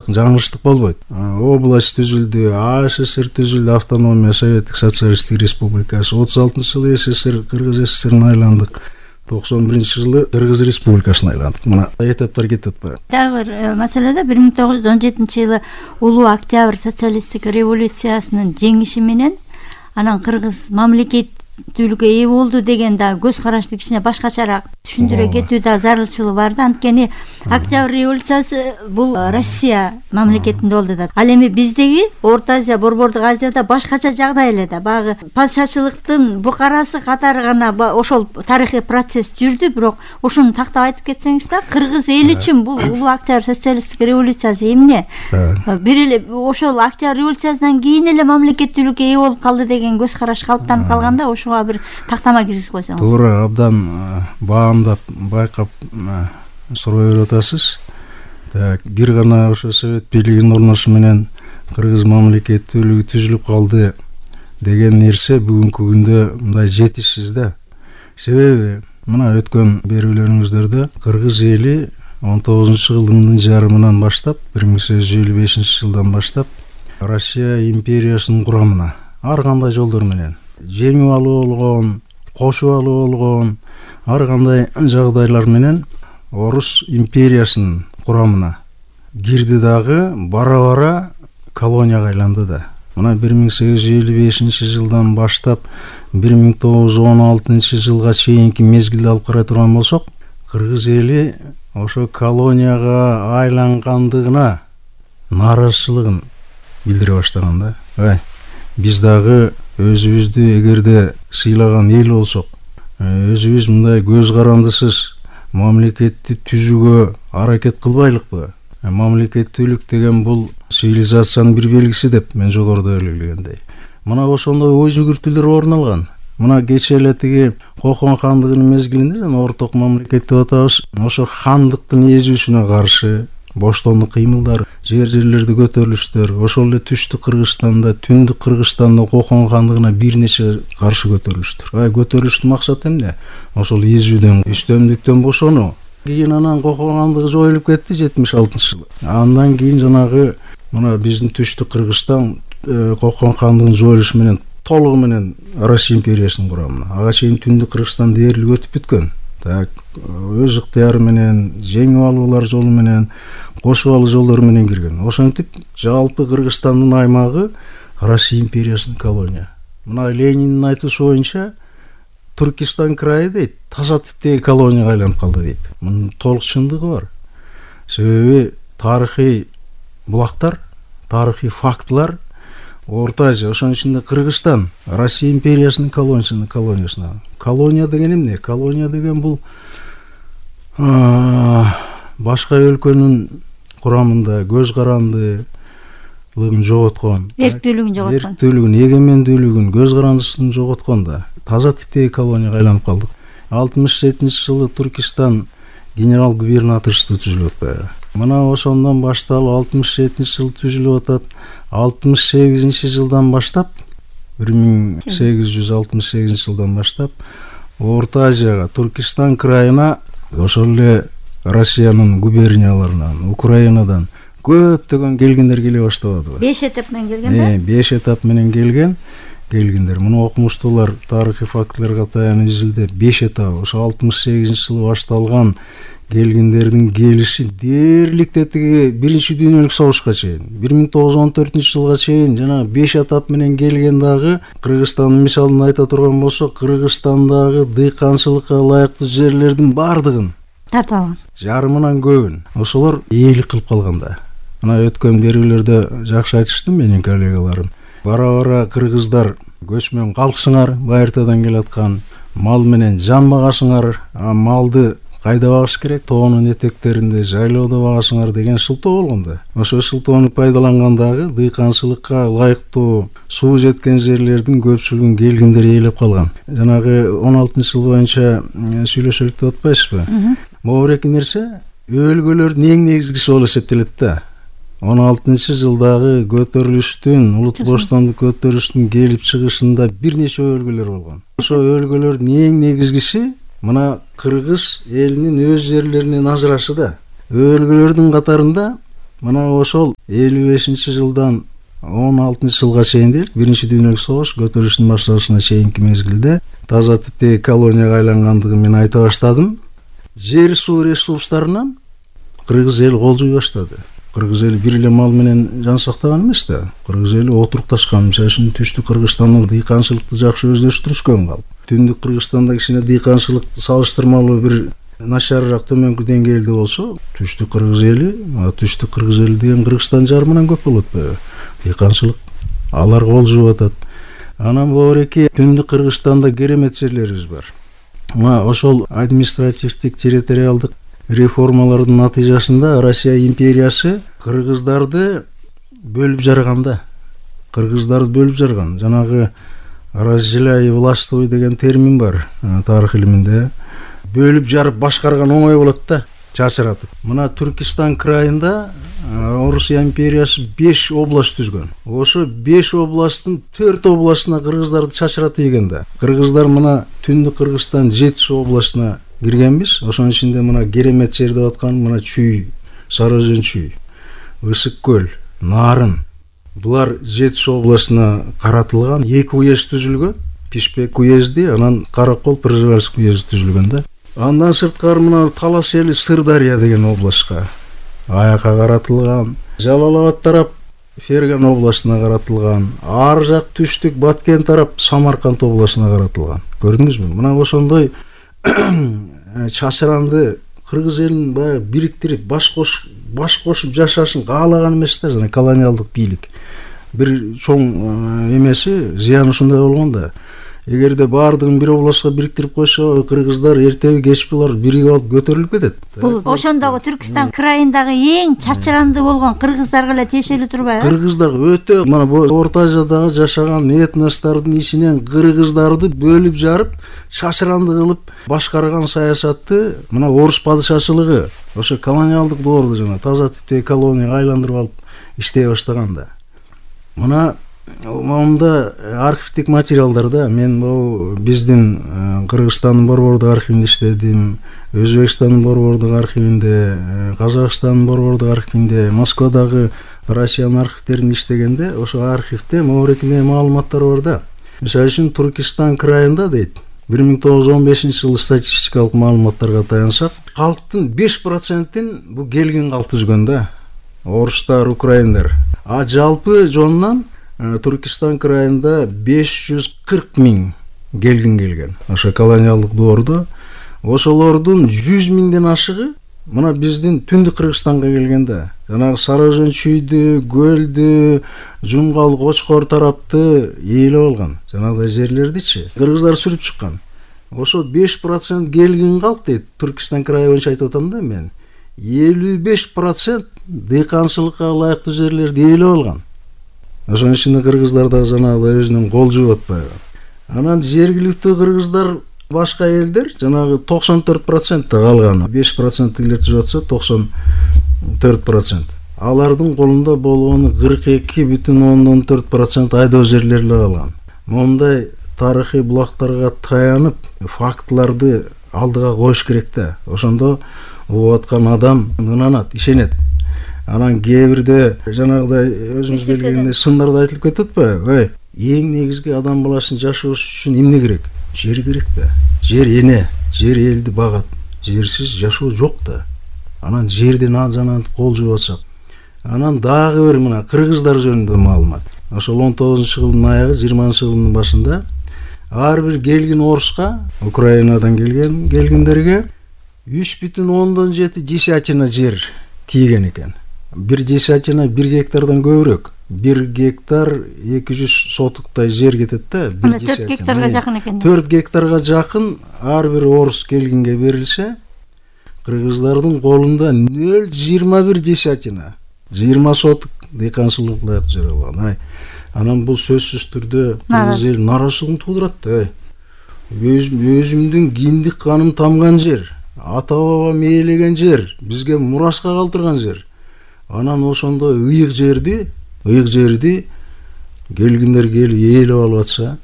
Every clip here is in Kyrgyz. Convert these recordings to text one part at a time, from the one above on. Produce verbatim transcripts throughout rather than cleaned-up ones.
жаңылыштык болбойт. Область түзүлдү, АССР түзүлдү, автономия советтик социалисттик республикасы. отуз алтынчы жылы СССР, Кыргыз СССРин айландык. токсон биринчи жылы Кыргыз республикасына айландык. Мына этаптар кетип атпайбы? Дагы бир маселеде бир миң тогуз жүз он жетинчи жылы улуу Октябрь социалисттик революциясынын жеңиши менен анан Кыргыз мамлекеттүүлүккө ээ болду деген да көз карашты кичине башкачараак түшүндүрө кетүү да зарылчылыгы бар да. Анткени Октябрь революциясы бул Россия мамлекетинде болду да. Ал эми биздеги Орто Азия, Борбордук Азияда башкача жагдай эле да. Багы падышачылыктын букарасы катары гана ошол тарыхый процесс жүрдү, бирок ошону тактап айтып кетсеңиз да, Кыргыз эли үчүн бул улуу Октябрь социалисттик революциясы эмне? Бир эле ошол Октябрь революциясынан кийин эле мамлекеттүүлүккө ээ болуп калды деген көз караш калыптанып калганда, ошого бир тактама киргизип койсоңуз. Туура, абдан баамдап, байкап суроо берип атасыз. Так, бир гана ошо совет бийлигинин орношуу менен Кыргыз мамлекеттүүлүгү түзүлүп калды деген нерсе бүгүнкү күндө мындай жетишсиз да. Себеби мына өткөн берүүлөрүңүздөрдө Кыргыз эли он тогузунчу кылымдын жарымынан баштап, бир миң сегиз жүз элүү бешинчи жылдан баштап Россия империясынын курамына ар кандай жолдор менен жеңип алуу болгон, кошуп алуу болгон, ар кандай жагдайлар менен Орус империясынын курамына кирди дагы бара-бара колонияга айланды да. Мына бир миң сегиз жүз элүү бешинчи жылдан баштап бир миң тогуз жүз он алтынчы жылга чейинки мезгилди алып карай турган болсок, Кыргыз эли ошо колонияга айлангандыгына нааразычылыгын билдире баштаган да. Ай, биз дагы өзүбүздү эгерде сыйлаган эл болсок, өзүбүз мындай көз карандысыз мамлекетти түзүүгө аракет кылбайлыкпы? Мамлекеттүүлүк деген бул цивилизациянын бир белгиси деп мен жогоруда белгилегендей. Мына ошондой ой жүгүртүүлөр орун алган. Мына кече эле тиги Кокон хандыгынын мезгилинде орток мамлекет деп атабыз. Ошо хандыктын эзүүсүнө каршы боштондук кыймылдар, жер жерлерди көтөрүлүштөр, ошол эле түштүк Кыргызстанда, түндүк Кыргызстанда Кокон хандыгына бир нече каршы көтөрүлүштөр. Ай, көтөрүлүштүн максаты эмне? Ошол эзүүдөн, үстөмдүктөн бошонуу. Кийин анан Кокон хандыгы жоюлуп кетти жетимиш алтынчы жылы. Андан кийин жанагы мына биздин түштүк Кыргызстан Кокон хандыгынын жоюлушу менен толугу менен Россия империясынын курамына. Ага чейин түндүк Кыргызстан дээрлик өтүп бүткөн. Так, өз ыктыяры менен, жеңип алуулар жолу менен, кошуп алуу жолдору менен кирген. Ошентип жалпы Кыргызстандын аймагы Россия империясынын колония. Мына Лениндин айтуусу боюнча Түркистан крайы дейт, таза типтеги колонияга айланып калды дейт. Мунун толук чындыгы бар. Себеби тарыхый булактар, тарыхый фактылар Орто Азия, ошонун ичинде Кыргызстан Россия империясынын колониясына, колониясына. Колония деген эмне? Колония деген бул башка өлкөнүн курамында көз карандылыгын жоготкон, эрктүүлүгүн жоготкон, эрктүүлүгүн, эгемендүүлүгүн, көз карандысын жоготкон да таза типтеги колонияга айланып калдык. алтымыш жетинчи жылы Түркистан генерал губернаторству түзүлүп атпайбы? Мына ошондон башталып алтымыш жетинчи жылы түзүлүп атат. алтымыш сегизинчи жылдан баштап, бир миң сегиз жүз алтымыш сегизинчи жылдан баштап Орто Азияга, Түркистан крайына, ошол эле Россиянын губернияларынан, Украинадан көптөгөн келгендер келе баштабадыбы? беш этап менен келген да? беш этап менен келген. Келгендер. Муну окумуштуулар тарыхый фактыларга таянып изилдеп, беш этап ошо алтымыш сегизинчи жылы башталган келгендердин келиши дээрликте тиги биринчи дүйнөлүк согушка чейин, бир миң тогуз жүз он төртүнчү жылга чейин жана беш этап менен келген дагы Кыргызстандын мисалын айта турган болсок, Кыргызстандагы дыйканчылыкка ылайыктуу жерлердин бардыгын тартып алган. Жарымынан көбүн ошолор ээлик кылып калганда. Мына өткөн берүүлөрдө жакшы айтышты менин коллегаларым. Бара-бара кыргыздар көчмөн калксыңар, байыртадан келаткан мал менен жан багасыңар, а малды кайда багыш керек? Тоонун этектеринде, жайлоодо багасыңар деген шылтоо болгон да. Ошо шылтоону пайдалангандагы дыйканчылыкка ылайыктуу суу жеткен жерлердин көпчүлүгүн келгиндер ээлеп калган. Жанагы он алтынчы жыл боюнча сүйлөшөлүк деп атпайсызбы? Могу эки нерсе өлгөлөрдүн эң негизгиси болуп эсептелет да. он алтынчы жылдагы көтөрүлүштүн, улут боштондук көтөрүлүштүн келип чыгышында бир нече өлгөлөр болгон. Ошо өлгөлөрдүн эң негизгиси мына кыргыз элинин өз жерлеринен ажырашы да. Өлгөлөрдүн катарында мына ошол элүү бешинчи жылдан он алтынчы жылга чейин дейли, биринчи дүйнөлүк согуш көтөрүлүштүн башталышына чейинки мезгилде таза типтеги колонияга айлангандыгын мен айта баштадым. Жер суу ресурстарынан кыргыз эл кол жуй баштады. Кыргыз эли бир эле мал менен жан сактаган эмес да. Кыргыз эли отурукташкан. Мисалы үчүн түштүк Кыргызстандын дыйканчылыкты жакшы өздөштүрүшкөн калп. Түндүк Кыргызстанда кичине дыйканчылыкты салыштырмалуу бир начарыраак төмөнкү деңгээлде болсо, түштүк Кыргыз эли, түштүк Кыргыз эли деген Кыргызстан жарымынан көп болот атпайбы? Дыйканчылык алар кол жууп атат. Анан бобуреки түндүк Кыргызстанда керемет жерлерибиз бар. Мына ошол административдик территориалдык реформалардын натыйжасында Россия империясы кыргыздарды бөлүп жарганда, кыргыздарды бөлүп жарган. Жанагы разделяй властвуй деген термин бар тарых илиминде. Бөлүп жарып башкарган оңой болот да, чачыратып. Мына Түркистан крайында Орусия империясы беш область түзгөн. Ошо беш областтын төрт областына кыргыздарды чачыратып ийген да. Кыргыздар мына түндүк Кыргызстан жети областына киргенбиз. Ошонун ичинде мына керемет жер деп аткан мына Чүй, Сарыөзөн Чүй, Ысык көл, Нарын. Булар жети областына каратылган, эки уезд түзүлгөн. Пишпек уезди, анан Каракол, Пржевальск уезди түзүлгөн да. Андан сырткары мына Талас эли Сырдария деген областка аяка каратылган. Жалал-Абад тарап Ферган областына каратылган. Ар жак түштүк Баткен тарап Самарканд областына каратылган. Көрдүңүзбү? Мына ошондой чачыранды кыргыз элин баягы бириктирип баш кош баш кошуп жашашын каалаган эмес да, жана колониалдык бийлик. Бир чоң эмеси, зыяны ушундай болгон да. Эгерде баардыгын бир областка бириктирип койсо, кыргыздар эртеби кечпи булар биригип алып көтөрүлүп кетет. Бул ошондогу Түркистан крайындагы эң чачыранды болгон кыргыздарга эле тиешелүү турбайбы? Кыргыздар өтө мына Орто Азиядагы жашаган этностордун ичинен кыргыздарды бөлүп жарып, чачыранды кылып башкарган саясатты мына Орус падышачылыгы ошо колониалдык доордо жана таза типтеги колонияга айландырып алып иштей баштаган да. Мына момунда архивдик материалдарда мен бул биздин Кыргызстандын борбордук архивинде иштедим, Өзбекстандын борбордук архивинде, Казакстандын борбордук архивинде, Москвадагы Россиянын архивдеринде иштегенде ошо архивде могурекине маалыматтар бар да. Мисалы үчүн Түркистан крайында дейт, бир миң тогуз жүз он бешинчи жылы статистикалык маалыматтарга таянсак, калктын беш процентин бул келген калк түзгөн да. Орустар, украиндар. А жалпы жонунан Түркистан крайында беш жүз кырк миң келгин келген. Ошо колониалдык доордо ошолордун жүз миңден ашыгы мына биздин түндүк Кыргызстанга келгенде. Жанагы Сарыөзөн Чүйдү, Көлдү, Жумгал, Кочкор тарапты ээлеп алган. Жанагы жерлердичи кыргыздар сүрүп чыккан. Ошо беш процент келгин калк дейт. Түркистан крайы боюнча айтып атам да мен. элүү беш процент дыйканчылыкка ылайыктуу жерлерди ээлеп алган. Ошонун ичинде кыргыздар да жанагы өзүнүн кол жууп атпайбы. Анан жергиликтүү кыргыздар башка элдер жанагы токсон төрт процент калган. беш проценттегилер түзүп атса токсон төрт процент. Алардын колунда болгону кырк эки бүтүн ондон төрт процент айдоо жерлери калган. Мондай тарыхый булактарга таянып фактыларды алдыга коюш керек да. Ошондо угуп аткан адам ынанат, ишенет. Анан кээ бирде жанагыдай өзүңүз билгендей сындарды айтылып кетип атпайбы? Ой, эң негизги адам баласын жашоосу үчүн эмне керек? Жер керек да. Жер эне, жер элди багат. Жерсиз жашоо жок да. Анан жерден жана кол жууп атсак. Анан дагы бир мына кыргыздар жөнүндө маалымат. Ошол он тогузунчу жылдын аягы, жыйырманчы жылдын башында ар бир келгин оруска, Украинадан келген келгиндерге үч бүтүн ондон жети десятина жер тийген экен. Бир десятина бир гектардан көбүрөөк. Бир гектар эки жүз сотуктай жер кетет да. төрт гектарга жакын экен. төрт гектарга жакын ар бир орус келгинге берилсе, кыргыздардын колунда нөл жыйырма бир десятина, жыйырма сотук дыйканчылык ылайыктуу жер алган. Ай, анан бул сөзсүз түрдө кыргыз эл нараачылыгын туудурат да. Өзүмдүн киндик каным тамган жер, ата бабам ээлеген жер, бизге мураска калтырган жер. Анан ошондой ыйык жерди, ыйык жерди келгиндер келип ээлеп алып атса,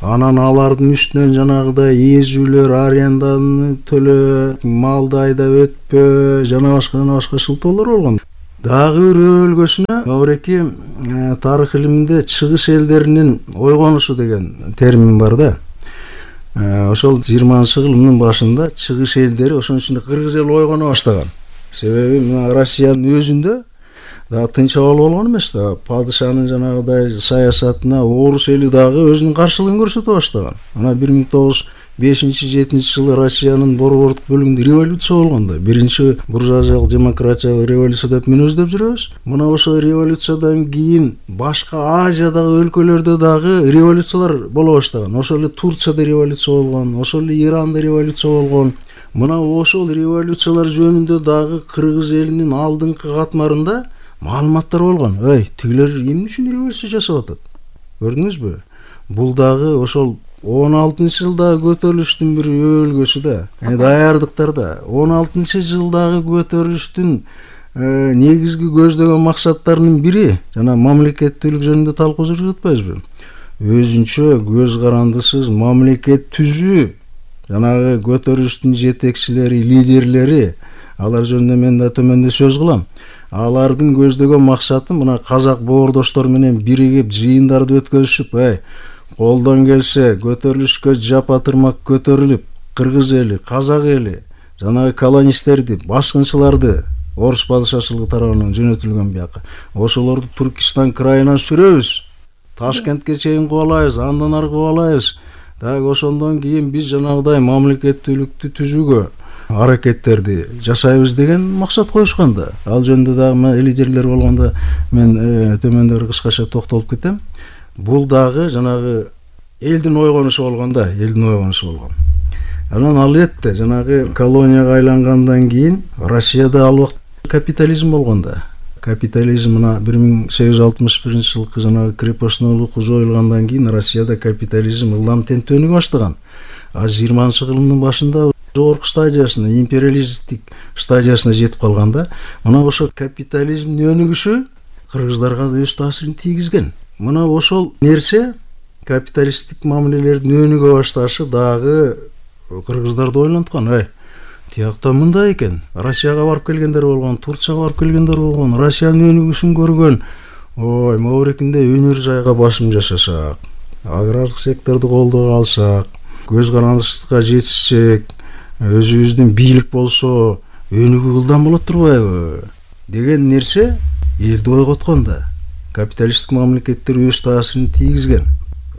анан алардын үстүнөн жанагыдай эзүүлөр, аренданы төлөө, малды айдап өтпө, жана башка жана башка шылтоолор болгон. Дагы бир өлгөсүнө Мавреки тарых илиминде чыгыш элдеринин ойгонушу деген термин бар да. Ошол жыйырманчы кылымдын башында чыгыш элдери, ошонун ичинде кыргыз эли ойгоно баштаган. Себеби мына Россиянын өзүндө да тынч абал болгон эмес да, падышанын жанагыдай саясатына орус эли дагы өзүнүн каршылыгын көрсөтө баштаган. Мына бир миң тогуз жүз бешинчи жетинчи жылы Россиянын борбордук бөлүгүндө революция болгон да. Биринчи буржуазиялык демократиялык революция деп мен өздөп жүрөбүз. Мына ошол революциядан кийин башка Азиядагы өлкөлөрдө дагы революциялар боло баштаган. Ошол эле Турцияда революция болгон, ошол эле Иранда революция болгон. Мына ошол революциялар жөнүндө дагы кыргыз элинин алдыңкы катмарында маалыматтар болгон. Эй, тигилер эмне үчүн революция жасап атат? Көрдүңүзбү? Бул дагы ошол он алтынчы жылдагы көтөрүлүштүн бир өлгөсү да. Эми даярдыктарда он алтынчы жылдагы көтөрүлүштүн негизги көздөгөн максаттарынын бири жана мамлекеттүүлүк жөнүндө талкуу жүргүзүп атпайбызбы? Өзүнчө көз карандысыз мамлекет түзүү, жанагы көтөрүлүштүн жетекчилери, лидерлери, алар жөнүндө мен да төмөндө сөз кылам. Алардын көздөгөн максаты мына казак боордоштор менен биригип жыйындарды өткөзүшүп, эй, колдон келсе көтөрүлүшкө жапа тырмак көтөрүлүп, кыргыз эли, казак эли, жанагы колонисттерди, башкынчыларды орус падышачылыгы тарабынан жөнөтүлгөн бияка. Ошолорду Түркистан крайынан сүрөбүз. Ташкентке чейин кубалайбыз, андан ары кубалайбыз. Дагы ошондон кийин биз жанагыдай мамлекеттүүлүктү түзүүгө аракеттерди жасайбыз деген максат коюшкан да. Ал жөнүндө дагы лидерлер болгондо мен төмөндө кыскача токтолуп кетем. Бул дагы жанагы элдин ойгонушу болгон да, элдин ойгонушу болгон. Анан ал этте жанагы колонияга айлангандан кийин Россияда ал убакта капитализм болгон да. Капитализм мына бир миң сегиз жүз алтымыш биринчи жылкы жанагы крепостноолук жоюлгандан кийин Россияда капитализм ылдам темптөнүгө баштаган. А жыйырманчы кылымдын башында жогорку стадиясына, империалисттик стадиясына жетип калганда, мына ошо капитализмдин өнүгүшү кыргыздарга да өз таасирин тийгизген. Мына ошол нерсе, капиталисттик мамилелердин өнүгө башташы дагы кыргыздарды ойлонткан. Эй, тиякта мындай экен. Россияга барып келгендер болгон, Турцияга барып келгендер болгон, Россиянын өнүгүшүн көргөн. Ой, Маврикинде өнөр жайга басым жасасак, агрардык секторду колдоо алсак, көз карандысызга жетишсек, өзүбүздүн бийлик болсо, өнүгүү ылдам болот турбайбы деген нерсе элди ойготкон да. Капиталисттик мамлекеттер өз таасирин тийгизген.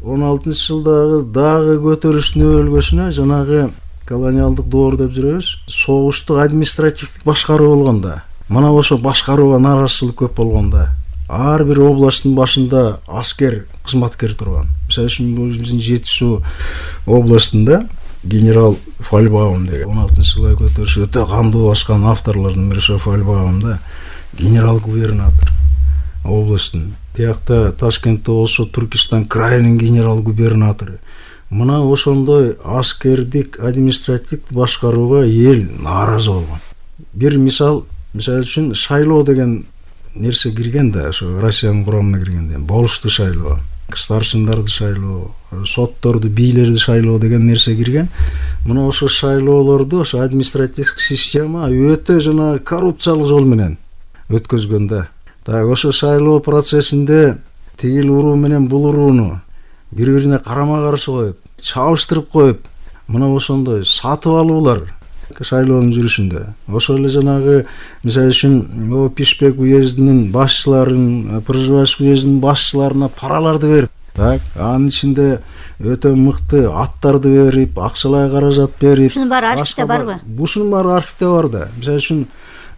он алтынчы жылдагы дагы көтөрүштүн өлгөсүнө жанагы колониалдык доор деп жүрөбүз, согуштук административдик башкаруу болгон да. Мына ошо башкарууга нааразычылык көп болгон да. Ар бир областтын башында аскер, кызматкер турган. Мисалы үчүн биздин Жети Суу областында генерал Фальбаум деген он алтынчы жылы көтөрүш өтө кандуу баскан авторлордун бири ошо Фальбаум да, генерал губернатор областтын. Тиякта Ташкентте болсо Түркистан крайынын генерал губернатору. Мына ошондой аскердик, административдик башкарууга эл нааразы болгон. Бир мисал, мисалы үчүн шайлоо деген нерсе кирген да, ошо Россиянын курамына киргенде, болушту шайлоо, старшындарды шайлоо, сотторду, бийлерди шайлоо деген нерсе кирген. Мына ошо шайлоолорду ошо административдик система өтө жана коррупциялык жол менен өткөзгөн да. Так ошо шайлоо процессинде тигил уруу менен бул урууну бири-бирине карама-каршы коюп, чабыштырып коюп, мына ошондой сатып алуулар шайлоонун жүрүшүндө. Ошол эле жанагы мисалы үчүн Пишпек уездинин башчыларын, Пржевальск уездинин башчыларына параларды берип, так, анын ичинде өтө мыкты аттарды берип, акчалай каражат берип. Ушунун баары архивде барбы? Ушунун баары архивде бар да. Мисалы үчүн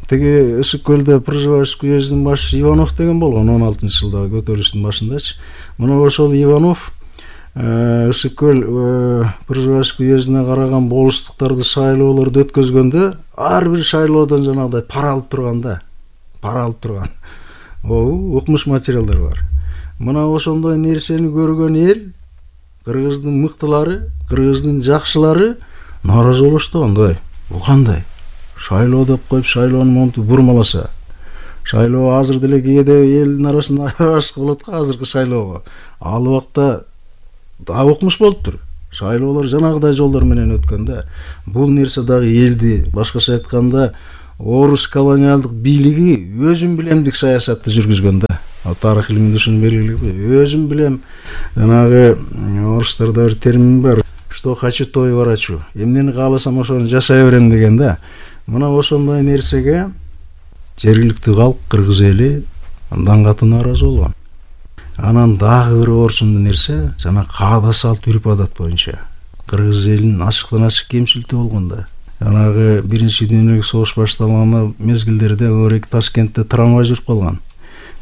тиги Ысык көлдө Пржевальск уездинин башчысы Иванов деген болгон он алтынчы жылдагы көтөрүлүштүн башындачы. Мына ошол Иванов Ысык көл Пржевальск уездине караган болустуктарды шайлоолорду өткөзгөндө ар бир шайлоодон жанагыдай пара алып турган да. Пара алып турган. О, укмуш материалдар бар. Мына ошондой нерсени көргөн эл, кыргыздын мыктылары, кыргыздын жакшылары нааразы болушту. Андай, бул кандай? Шайлоо деп коюп, шайлоону монтип бурмаласа. Шайлоо азыр деле кээде элдин арасында аралашык болот го азыркы шайлоого. Ал убакта да укмуш болуптур. Шайлоолор жанагыдай жолдор менен өткөн да. Бул нерсе дагы элди, башкача айтканда, орус колониалдык бийлиги өзүм билемдик саясатты жүргүзгөн да. Тарых илиминде ушуну белгилеп, өзүм билем. Жанагы орустарда бир термин бар. Что хочу, то и ворочу. Эмнени кааласам ошону жашай берем деген да. Мына ошондой нерсеге жергиликтүү калк, кыргыз эли андан катуу нааразы болгон. Анан дагы бир орсундуу нерсе, жана каада салт үрп адат боюнча кыргыз элинин ачыктан ачык кемчилиги болгон да. Жанагы биринчи дүйнөлүк согуш башталган мезгилдерде Орек Ташкентте трамвай жүрүп калган.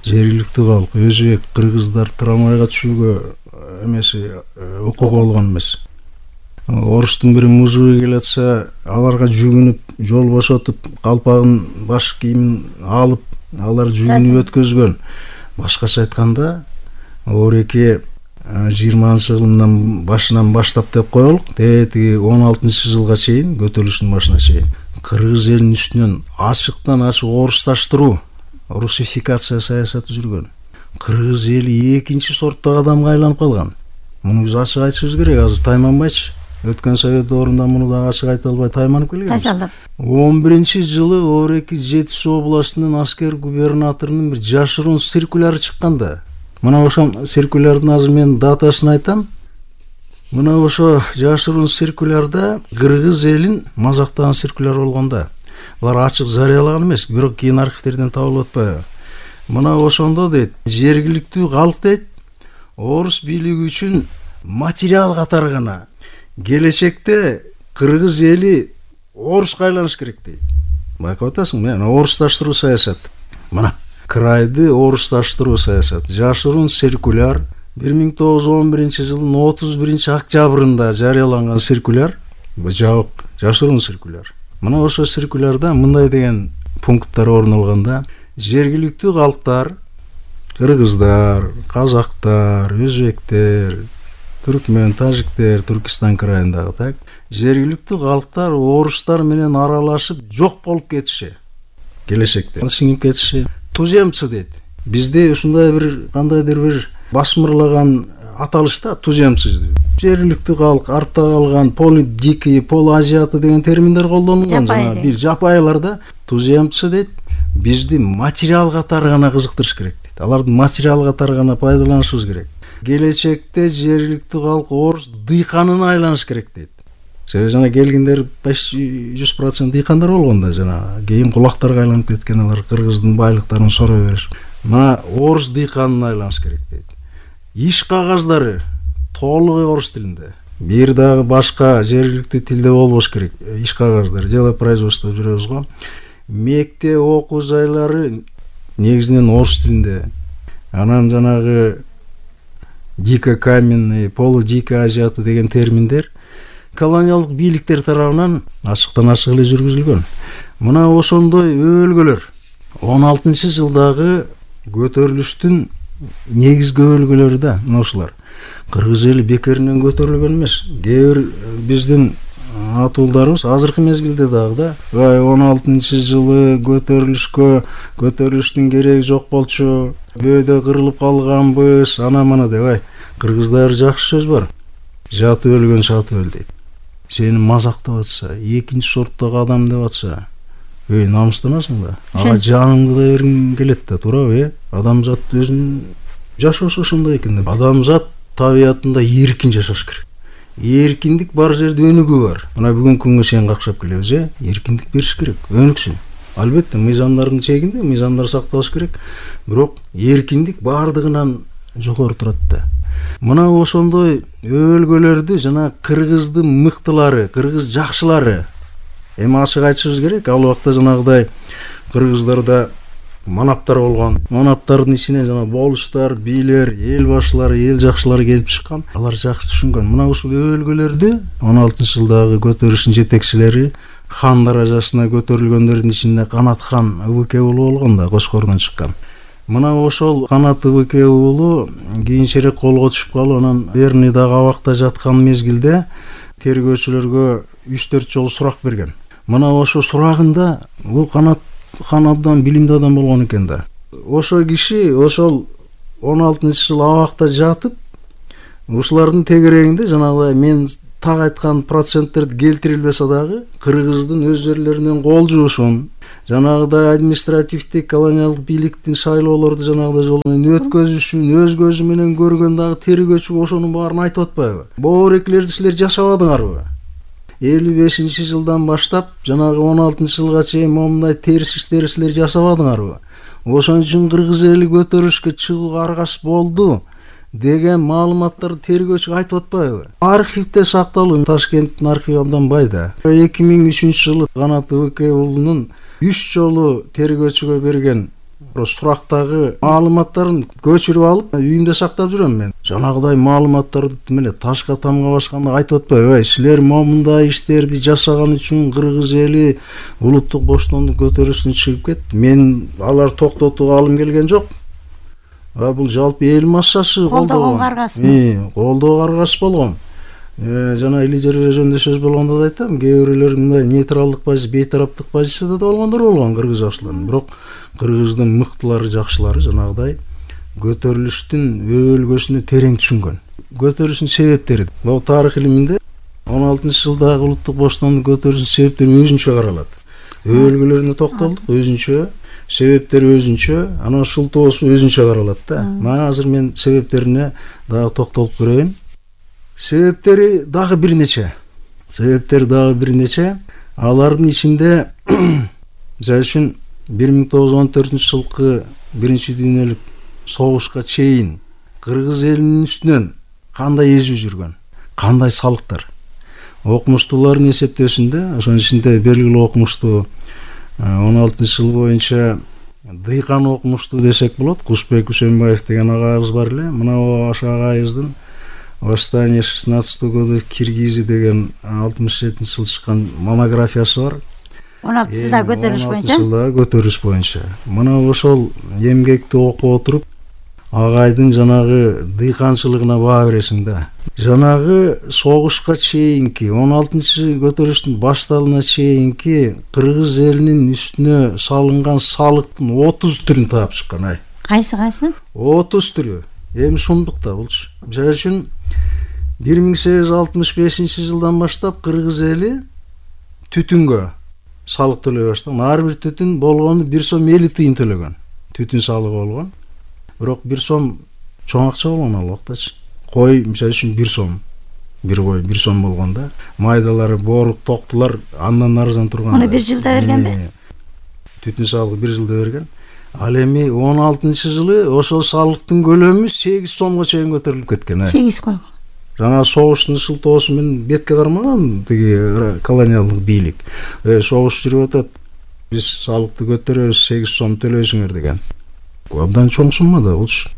Жергиликтүү калк, өзбек, кыргыздар трамвайга түшүүгө эмеси укугу болгон эмес. Орустун бири музуй келатса, аларга жүгүнүп, жол бошотуп, калпагын, баш кийимин алып, алар жүгүнүп өткөзгөн. Башкача айтканда, Ореке жыйырманчы жылдын башынан баштап деп коелук, тетиги он алтынчы жылга чейин, көтөрүлүштүн башына чейин кыргыз элинин үстүнөн ачыктан ачык орусташтыруу, русификация саясаты жүргөн. Кыргыз эли экинчи сорттогу адамга айланып калган. Муну биз ачык айтышыбыз керек. Азыр тайманбайчы. Өткөн совет доорунда муну да ачык айта албай тайманып келгенбиз. он биринчи жылы Ореки Жети Суу областынын аскер губернаторунун бир жашыруун циркуляры чыкканда. Мына ошол циркулярдын азыр мен датасын айтам. Мына ошо жашыруун циркулярда кыргыз элин мазактаган циркуляр болгонда. Алар ачык жарыялаган эмес, бирок кийин архивтерден табылып атпайбы. Мына ошондо дейт, жергиликтүү калк дейт, орус бийлиги үчүн материал катары гана келечекте кыргыз эли оруска айланыш керек дейт. Байкап атасың, мен орусташтыруу саясат. Мына крайды орусташтыруу саясат. Жашыруун циркуляр бир миң тогуз жүз он биринчи жылдын отуз биринчи октябрында жарыяланган циркуляр, жабык жашыруун циркуляр. Мына ошо циркулярда мындай деген пункттар орун алганда, жергиликтүү калктар, кыргыздар, казактар, өзбектер, түркмөн, тажиктер, Түркистан крайындагы так, жергиликтүү калктар орустар менен аралашып жок болуп кетиши. Келечекте сиңип кетиши. Туземцы дейт. Бизде ушундай бир кандайдыр бир басмырлаган аталышта туземцы. Жергиликтүү калк, артта калган, полудикий, полуазиаты деген терминдер колдонулган. Жана бир жапайларда туземцы дейт. Бизди материал катары гана кызыктырыш керек дейт. Аларды материал катары гана пайдаланышыбыз керек. Келечекте жергиликтүү калк орус дыйканына айланыш керек дейт. Себеби жана келгендер почти жүз процент дыйкандар болгон да, жана кийин кулактарга айланып кеткен алар кыргыздын байлыктарын сорой беришип. Мына орус дыйканына айланыш керек дейт. Иш кагаздары толугу орус тилинде. Бир дагы башка жергиликтүү тилде болбош керек. Иш кагаздары дело производства жүрөбүз го. Мектеп окуу жайлары негизинен орус тилинде. Анан жанагы дикокаменный, полудикий азиаты деген терминдер колониалдык бийликтер тарабынан ачыктан ачык эле жүргүзүлгөн. Мына ошондой өбөлгөлөр он алтынчы жылдагы көтөрүлүштүн негизги өбөлгөлөрү да мына ушулар. Кыргыз эли бекеринен көтөрүлгөн эмес. Кээ бир биздин атуулдарыбыз азыркы мезгилде дагы да он алтынчы жылы көтөрүлүшкө көтөрүлүштүн кереги жок болчу, бөөдө кырылып калганбыз, ана мана деп ай. Кыргызда бир жакшы сөз бар. Жатып өлгөн шатып өл дейт. Сени мазактап атса, экинчи сорттогу адам деп атса, эй, намыстанасың да. Ага жаныңды да бергиң келет да, туурабы, э? Адамзат өзүнүн жашоосу ошондой экен деп. Адамзат табиятында эркин жашаш керек. Эркиндик бар жерде өнүгүү бар. Мына бүгүнкү күнгө чейин какшап келебиз, э? Эркиндик бериш керек, өнүксүн. Албетте, мыйзамдардын чегинде мыйзамдар сакталыш керек, бирок эркиндик бардыгынан жогору турат да. Мына ошондой өбөлгөлөрдү жана кыргыздын мыктылары, кыргыз жакшылары эми ачык айтышыбыз керек. Ал убакта жанагыдай кыргыздарда манаптар болгон. Манаптардын ичине жана болуштар, бийлер, эл башчылары, эл жакшылары келип чыккан. Алар жакшы түшүнгөн. Мына ушул өбөлгөлөрдү он алтынчы жылдагы көтөрүлүштүн жетекчилери хан даражасына көтөрүлгөндөрдүн ичинде Канат хан Ыбыке уулу болгон да, Кошкордон чыккан. Мына ошол Канат Ыбыке уулу кийинчерээк колго түшүп калып, анан Верный дагы абакта жаткан мезгилде тергөөчүлөргө үч төрт жолу сурак берген. Мына ошо сурагында бул Канат хан абдан билимдүү адам болгон экен да. Ошо киши ошол он алтынчы жыл абакта жатып, ушулардын тегерегинде жанагыдай мен так айткан проценттерди келтирилбесе дагы кыргыздын өз жерлеринен кол жуушун жанагыдай административдик колониалдык бийликтин шайлоолорду жанагыдай жол менен өткөзүшүн өз көзү менен көргөн дагы тергөөчү ошонун баарын айтып атпайбы? Боорекилерди силер жашабадыңарбы? элүү бешинчи жылдан баштап жанагы он алтынчы жылга чейин момундай терс иштерди силер жасабадыңарбы? Ошон үчүн кыргыз эли көтөрүлүшкө чыгууга аргасыз болду деген маалыматтарды тергөөчү айтып атпайбы? Архивде сакталуу, Ташкенттин архиви абдан бай да. эки миң үчүнчү жылы Канат Ыбыкей уулунун үч жолу тергөөчүгө берген сурактагы маалыматтарын көчүрүп алып үйүмдө сактап жүрөм мен. Жанагыдай маалыматтарды меле ташка тамга басканда айтып атпайбы? Ай, силер момундай иштерди жасаган үчүн кыргыз эли улуттук боштондук көтөрүлүшүнө чыгып кетти. Мен алар токтотууга алым келген жок. А бул жалпы эл массасы колдогонго аргасызбы? Колдоого аргасыз болгон. Жана лидерлер жөнүндө сөз болгондо да айтам, кээ бирлер мындай нейтралдык позиция, бейтараптык позицияда да болгондор болгон кыргыз жакшылары. Бирок кыргыздын мыктылары, жакшылары жанагыдай көтөрүлүштүн өбөлгөсүнө терең түшүнгөн. Көтөрүлүштүн себептери бул тарых илиминде он алтынчы жылдагы улуттук боштондук көтөрүлүшүнүн себептери өзүнчө каралат. Өбөлгөлөрүнө токтолдук, өзүнчө, себептери өзүнчө, анан шылтоосу өзүнчө каралат да. Мына азыр мен себептерине дагы токтолуп көрөйүн. Себептери дагы бир нече. Себептери дагы бир нече. Алардын ичинде мисалы үчүн бир миң тогуз жүз он төртүнчү жылкы биринчи дүйнөлүк согушка чейин кыргыз элинин үстүнөн кандай эзүү жүргөн, кандай салыктар. Окумуштуулардын эсептөөсүндө, ошонун ичинде белгилүү окумуштуу он алтынчы жыл боюнча дыйкан окумуштуу десек болот, Кушбек Үсөнбаев деген агайыбыз бар эле. Мына ошо агайыбыздын «Восстание шестнадцатого года в Киргизии» деген алтымыш жетинчи жылы чыккан монографиясы бар. он алтынчы жылда көтөрүлүш боюнча. он алтынчы жылда көтөрүлүш боюнча. Мына ошол эмгекти окуп отуруп, агайдын жанагы дыйканчылыгына баа бересиң да. Жанагы согушка чейинки он алтынчы көтөрүлүштүн башталууна чейинки кыргыз элинин үстүнө салынган салыктын отуз түрүн таап чыккан. Ай. Кайсы кайсы? отуз түрү. Эми шундук да булчу. Мисалы үчүн бир миң сегиз жүз алтымыш бешинчи жылдан баштап кыргыз эли түтүнгө салык төлөй баштаган. Ар бир түтүн болгону бир сом элүү тыйын төлөгөн. Түтүн салыгы болгон. Бирок бир сом чоң акча болгон ал убактачы. Кой мисалы үчүн бир сом. Бир кой бир сом болгондо, майдалары, боорук, токтулар андан арзан турган. Аны бир жылда бергенби? Түтүн салыгы бир жылда берген. Ал эми он алтынчы жылы ошол салыктын көлөмү сегиз сомго чейин көтөрүлүп кеткен. сегиз кой. Жана согуштун шылтоосу менен бетке кармаган тиги колониалдык бийлик. Э согуш жүрүп атат. Биз салыкты көтөрөбүз, сегиз сом төлөйсүңөр деген. Абдан чоң сумма да болчу.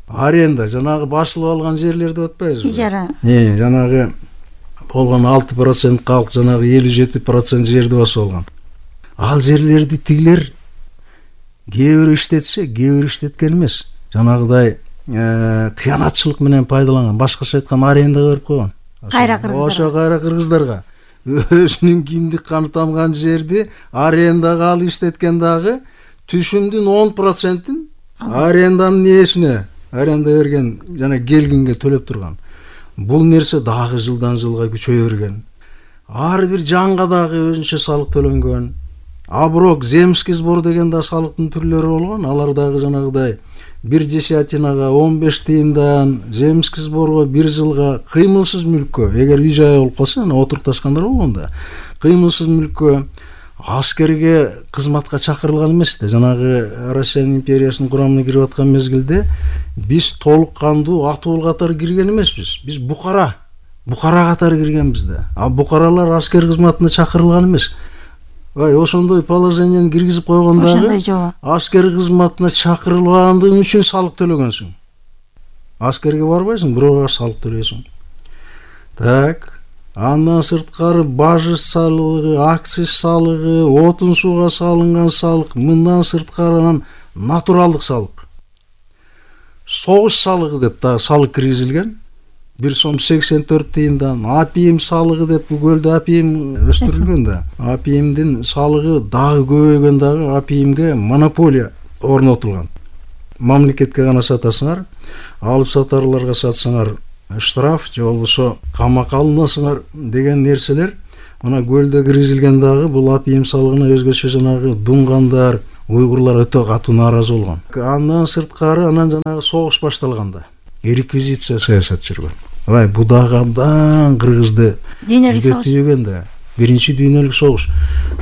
Аренда жанагы басылып алган жерлерди деп атпайбызбы? Ижара. Э, жанагы болгон алты процент калк, жанагы элүү жети процент жерди басып алган. Ал жерлерди тигилер кээ бирөө иштетсе, кээ бирөө иштеткен эмес. Жанагыдай кыянатчылык менен пайдаланган, башкача айтканда арендага берип койгон. Кайра кыргыздар. Ошо кайра кыргыздарга өзүнүн киндик каны тамган жерди арендага алып иштеткен дагы түшүмдүн он процентин аренданын ээсине, аренда берген жана келгинге төлөп турган. Бул нерсе дагы жылдан жылга күчөйө берген. Ар бир жанга дагы өзүнчө салык төлөнгөн. Аброк, земский сбор деген да салыктын түрлөрү болгон. Алар дагы жанагыдай бир десятинага он беш тыйындан, земский сборго бир жылга, кыймылсыз мүлккө, эгер үй жай болуп калса, ана отурукташкандар болгондо, кыймылсыз мүлккө, аскерге кызматка чакырылган эмес да. Жанагы Россия империясынын курамына кирип аткан мезгилде биз толук кандуу атуул катары кирген эмеспиз. Биз букара, букара катары киргенбиз да. А букаралар аскер кызматына чакырылган эмес. Ай, ошондой положениени киргизип койгондагы аскер кызматына чакырылгандыгың үчүн салык төлөгөнсүң. Аскерге барбайсың, бирок салык төлөйсүң. Так, андан сырткары бажы салыгы, акциз салыгы, отун сууга салынган салык, мындан сырткары анан натуралдык салык. Согуш салыгы деп дагы салык киргизилген. бир сом сексен төрт тыйындан, апиим салыгы деп көлдө апиим өстүрүлгөн да. Апиимдин салыгы дагы көбөйгөн, дагы апиимге монополия орнотулган. Мамлекетке гана сатасыңар, алып сатарларга сатсаңар штраф, же болбосо камакка алынасыңар деген нерселер мына көлдө киргизилген дагы бул апием салыгына өзгөчө жанагы дуңгандар, уйгурлар өтө катуу нааразы болгон. Андан сырткары анан жанагы согуш башталганда реквизиция саясат жүргөн. Ай, бу дагы абдан кыргызды жүдөтүүгөн да. Биринчи дүйнөлүк согуш.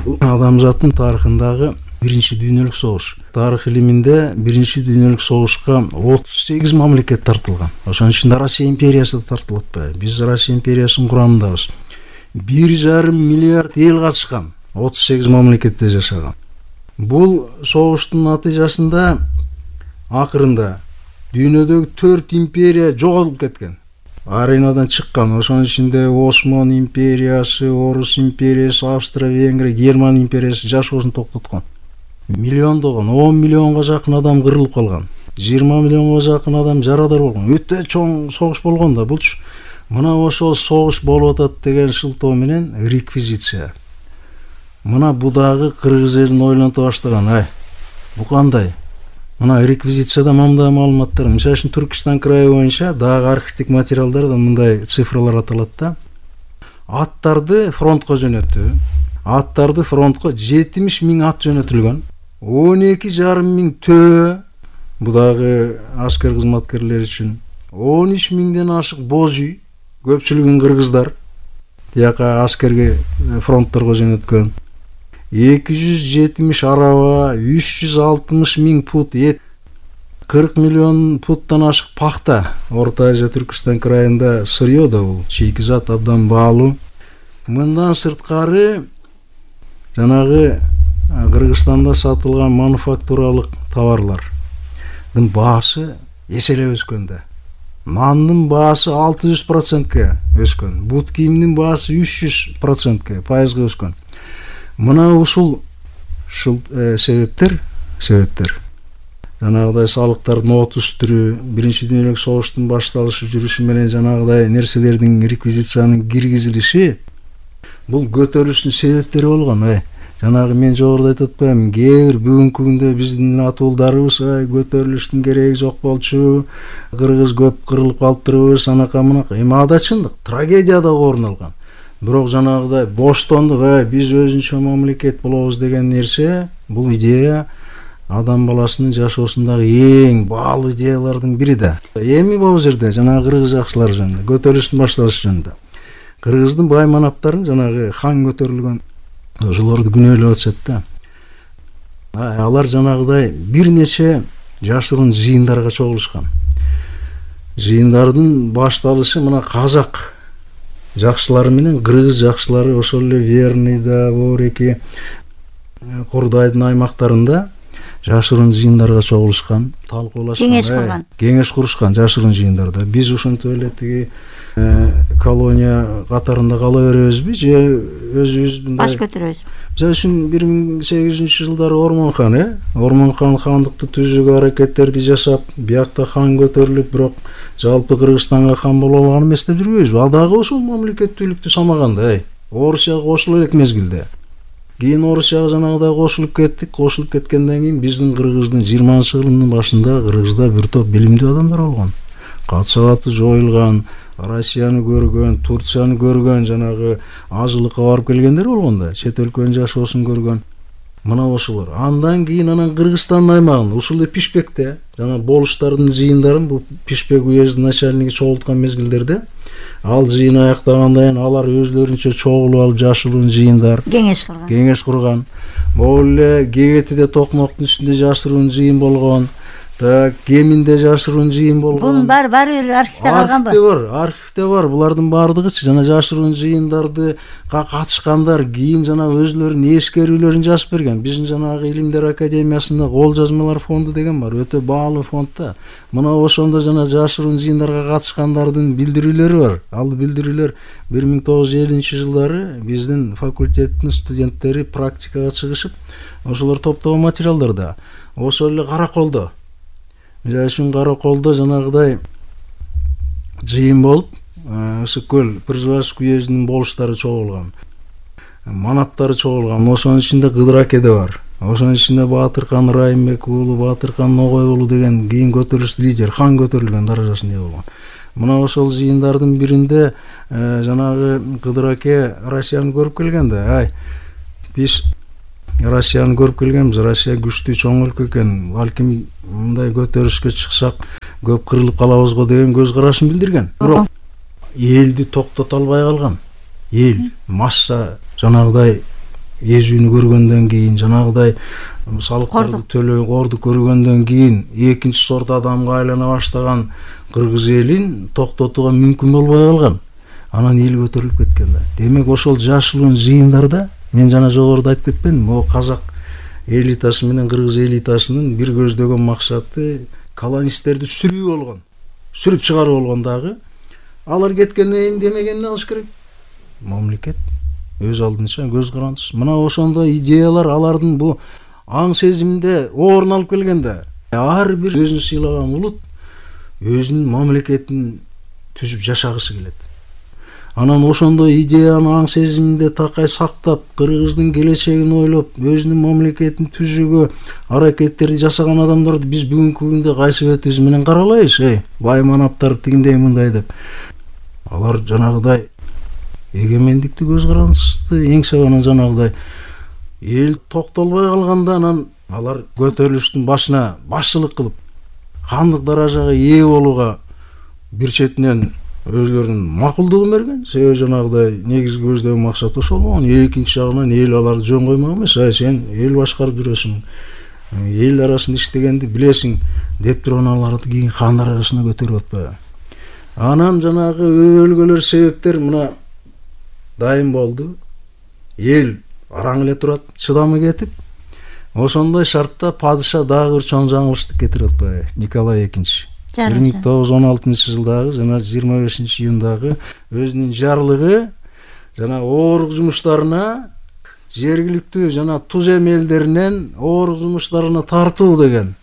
Бул адамзаттын тарыхындагы биринчи дүйнөлүк согуш. Тарых илиминде биринчи дүйнөлүк согушка отуз сегиз мамлекет тартылган. Ошонун ичинде Россия империясы да тартылып атпайбы? Биз Россия империясынын курамындабыз. бир жарым миллиард эл катышкан, отуз сегиз мамлекетте жашаган. Бул согуштун натыйжасында акырында дүйнөдөгү төрт империя жоголуп кеткен. Аренадан чыккан. Ошонун ичинде Осман империясы, Орус империясы, Австрия, Венгрия, Герман империясы жашоосун токтоткон. Миллиондогон, он миллионго жакын адам кырылып калган. жыйырма миллионго жакын адам жарадар болгон. Өтө чоң согуш болгон да булчу. Мына ошол согуш болуп атат деген шылтоо менен реквизиция. Мына бу дагы кыргыз элин ойлонто баштаган. Ай, бу кандай? Мына реквизицияда мындай маалыматтар. Мисалы үчүн Түркистан крайы боюнча дагы архивдик материалдарда мындай цифралар аталат да. Аттарды фронтко жөнөтүү. Аттарды фронтко жетимиш миң ат жөнөтүлгөн. он эки жарым миң төө, бу дагы аскер кызматкерлери үчүн. он үч миңден ашык боз үй, көпчүлүгүн кыргыздар. Тияка аскерге фронтторго жөнөткөн. эки жүз жетимиш араба, үч жүз алтымыш миң пут эт, кырк миллион путтан ашык пахта. Орто Азия, Түркистан крайында сырьё да бул, чийки зат абдан баалуу. Мындан сырткары жанагы Кыргызстанда сатылган мануфактуралык товарлардын баасы эселеп өскөн да. Нандын баасы алты жүз процентке өскөн. Бут кийимдин баасы үч жүз процентке, пайызга өскөн. Мына ушул э, себептер, себептер. Жанагыдай салыктардын отуз түрү, биринчи дүйнөлүк согуштун башталышы жүрүшү менен жанагыдай нерселердин реквизициянын киргизилиши бул көтөрүлүштүн себептери болгон. Ай, жанагы мен жогоруда айтып атпаймынбы, кээ бир бүгүнкү күндө биздин атуулдарыбыз ай көтөрүлүштүн кереги жок болчу, кыргыз көп кырылып калыптырбыз, анака мынака. Эми ада чындык, трагедия да орун алган. Бирок жанагыдай боштондук, ай биз өзүнчө мамлекет болобуз деген нерсе, бул идея адам баласынын жашоосундагы эң баалуу идеялардын бири да. Эми бул жерде жанагы кыргыз жакшылары жөнүндө, көтөрүлүштүн башталышы жөнүндө кыргыздын бай манаптарын жанагы хан көтөрүлгөн ошолорду күнөөлөп атышат да. Алар жанагыдай бир нече жашыруун жыйындарга чогулушкан. Жыйындардын башталышы мына казак жакшылары менен кыргыз жакшылары ошол эле Верныйда, Бореки, Курдайдын аймактарында жашыруун жыйындарга чогулушкан, талкуулашкан, кеңеш курган. Кеңеш курушкан жашыруун жыйындарда. Биз ошентип эле тиги колония катарында кала беребизби же өзүбүз баш көтөрөбүз? Мисалы үчүн бир миң сегиз жүзүнчү жылдары Ормон-хан, э? Ормон-хан хандыкты түзүүгө аракеттерди жашап, биякта хан көтөрүлүп, бирок жалпы Кыргызстанга хан боло алган эмес деп жүрбөйбүзбү? Ал дагы ошол мамлекеттүүлүктү самаганда, ай. Орусияга кошуло элек мезгилде. Кийин Орусияга жанагыдай кошулуп кеттик, кошулуп кеткенден кийин биздин Кыргыздын жыйырманчы кылымдын башында Кыргызда бир топ билимдүү адамдар болгон. Катсабаты жоюлган, Россияны көргөн, Турцияны көргөн, жанагы ажылыкка барып келгендер болгон да, чет өлкөнүн жашоосун көргөн. Мына ошолор. Андан кийин анан Кыргызстандын аймагында, ушул эле Пишпекте, жана болуштардын жыйындарын бу Пишпек уездин начальниги чогулткан мезгилдерде, ал жыйын аяктагандан кийин алар өзлөрүнчө чогулуп алып жашыруун жыйындар, кеңеш курган. Кеңеш курган. Могул эле Кегетиде Токмоктун үстүндө жашыруун жыйын болгон. Так, Кеминде жашыруун жыйын болгон. Бунун баары баары бир архивде калганбы? Архивде бар, архивде бар. Булардын баардыгычы жана жашыруун жыйындарды катышкандар кийин жана өзлөрүнүн эскерүүлөрүн жазып берген. Биздин жанагы Илимдер академиясында кол жазмалар фонду деген бар, өтө баалуу фонд да. Мына ошондо жана жашыруун жыйындарга катышкандардын билдирүүлөрү бар. Ал билдирүүлөр бир миң тогуз жүз элүүнчү жылдары биздин факультеттин студенттери практикага чыгышып, ошолор топтогон материалдар да. Ошол эле Караколдо Мисалы үчүн Караколдо жанагыдай жыйын болуп, Ысык көл Пржевальск уездинин болуштары чогулган, манаптары чогулган. Ошонун ичинде Кыдыр Акеде бар. Ошонун ичинде Баатыркан Райымбек уулу, Баатыркан Ногой уулу деген кийин көтөрүлүш лидер, хан көтөрүлгөн даражасында болгон. Мына ошол жыйындардын биринде жанагы Кыдыр аке Россияны көрүп келген да. Ай, биз Россияны көрүп келгенбиз. Россия күчтүү чоң өлкө экен. Балким мындай көтөрүшкө чыксак көп кырылып калабыз го деген көз карашын билдирген. Бирок элди токтото албай калган. Эл масса жанагыдай эзүүнү көргөндөн кийин, жанагыдай салыктарды төлөй корду көргөндөн кийин экинчи сорт адамга айлана баштаган кыргыз элин токтотууга мүмкүн болбой калган. Анан эл көтөрүлүп кеткен да. Демек ошол жашылын жыйындарда мен жана жогоруда айтып кетпедимби, могу казак элитасы менен кыргыз элитасынын бир көздөгөн максаты колонисттерди сүрүү болгон, сүрүп чыгаруу болгон дагы. Алар кеткенден кийин демек эмне кылыш керек? Мамлекет өз алдынча көз карандысыз. Мына ошондой идеялар алардын бу аң сезиминде орун алып келген да. Ар бир өзүн сыйлаган улут өзүнүн мамлекетин түзүп жашагысы келет. Анан ошондой идеяны аң сезиминде такай сактап, кыргыздын келечегин ойлоп, өзүнүн мамлекетин түзүүгө аракеттерди жасаган адамдарды биз бүгүнкү күндө кайсы бетибиз менен каралайбыз? Эй, бай манаптар тигиндей мындай деп. Алар жанагыдай эгемендикти көз карандысызды эңсегенин жанагыдай эл токтолбой калганда анан алар көтөрүлүштүн башына башчылык кылып хандык даражага ээ болууга бир четинен өзлөрүнүн макулдугун берген. Себеби жанагыдай негизги көздөгөн максат ошол болгон. Экинчи жагынан эл аларды жөн коймок эмес. Ай, сен эл башкарып жүрөсүң, эл арасында иштегенди билесиң деп туруп аларды кийин хан даражасына көтөрүп атпайбы. Анан жанагы өлгөлөр себептер мына дайым болду. Эл араң эле турат, чыдамы кетип. Ошондой шартта падыша дагы бир чоң жаңылыштык кетирип атпайбы? Николай экинчи бир миң тогуз жүз он алтынчы жылдагы жана жыйырма бешинчи июндагы өзүнүн жарлыгы жана оорук жумуштарына жергиликтүү жана туз эм элдеринен оорук жумуштарына тартуу деген.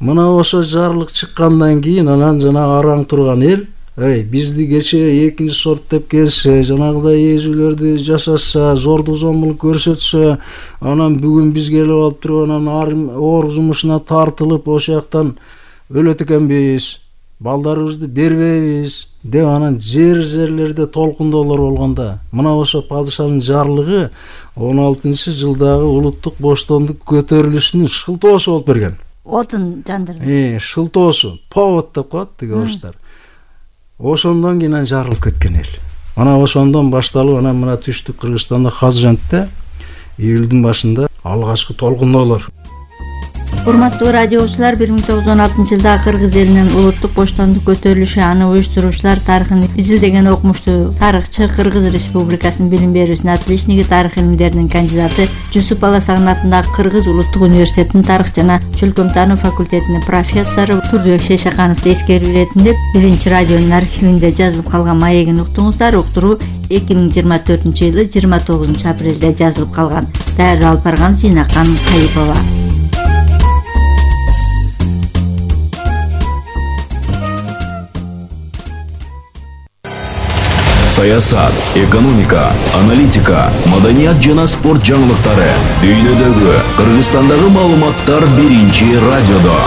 Мына ошо жарлык чыккандан кийин анан жана араң турган эл, эй, бизди кече экинчи сорт деп келсе, жанагыдай эзүүлөрдү жасаса, зордук зомбулук көрсөтсө, анан бүгүн бизге келип алып туруп анан оорук жумушуна тартылып, ошол жактан өлөт экенбиз, балдарыбызды бербейбиз деп анан жер жерлерде толкундоолор болгонда, мына ошо падышанын жарлыгы он алтынчы жылдагы улуттук боштондук көтөрүлүшүнүн шылтоосу болуп берген. Отун жандырды. Э, шылтоосу, повод деп коет тиги орустар. Ошондон кийин жарылып кеткен эл. Ана ошондон башталып, анан мына түштүк Кыргызстанда Хазжантта июлдун башында алгачкы толкундоолор. Урматтуу радиочулар, бир миң тогуз жүз он алтынчы жылда кыргыз элинин улуттук боштондук көтөрүлүшү, аны уюштуруучулар тарыхын изилдеген окумуштуу тарыхчы, Кыргыз Республикасынын билим берүүсүнүн отличниги, тарых илимдеринин кандидаты, Жусуп Баласагын атындагы Кыргыз улуттук университетинин тарых жана чөлкөм-таануу факультетинин профессору Турдубек Шейшакановду эскерип иретинде биринчи радионун архивинде жазылып калган маегин уктуңуздар. Уктуруу эки миң жыйырма төртүнчү жылы жыйырма тогузунчу апрелде жазылып калган. Даярдап барган Зинакан Кайыпова. Саясат, экономика, аналитика, маданият жана спорт жаңылыктары, дүйнөдөгү, Кыргызстандагы маалыматтар биринчи радиодо.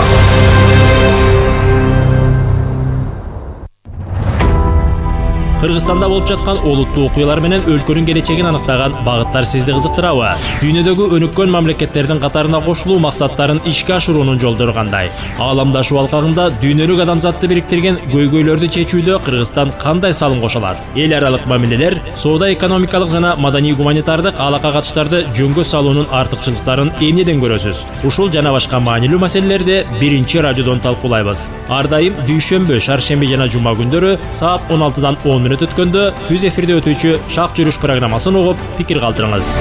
Кыргызстанда болуп жаткан олуттуу окуялар менен өлкөнүн келечегин аныктаган багыттар сизди кызыктырабы? Дүйнөдөгү өнүккөн мамлекеттердин катарына кошулуу максаттарын ишке ашыруунун жолдору кандай? Ааламдашуу алкагында дүйнөлүк адамзатты бириктирген көйгөйлөрдү чечүүдө Кыргызстан кандай салым кошо алат? Эл аралык мамилелер, соода экономикалык жана маданий гуманитардык алака катыштарды жөнгө салуунун артыкчылыктарын эмнеден көрөсүз? Ушул жана башка маанилүү маселелерди биринчи радиодон талкуулайбыз. Ар дайым дүйшөмбү, шаршемби жана жума күндөрү саат он алтыдан он мүнөт өткөндө түз эфирде өтүүчү Шак жүрүш программасын угуп, пикир калтырыңыз.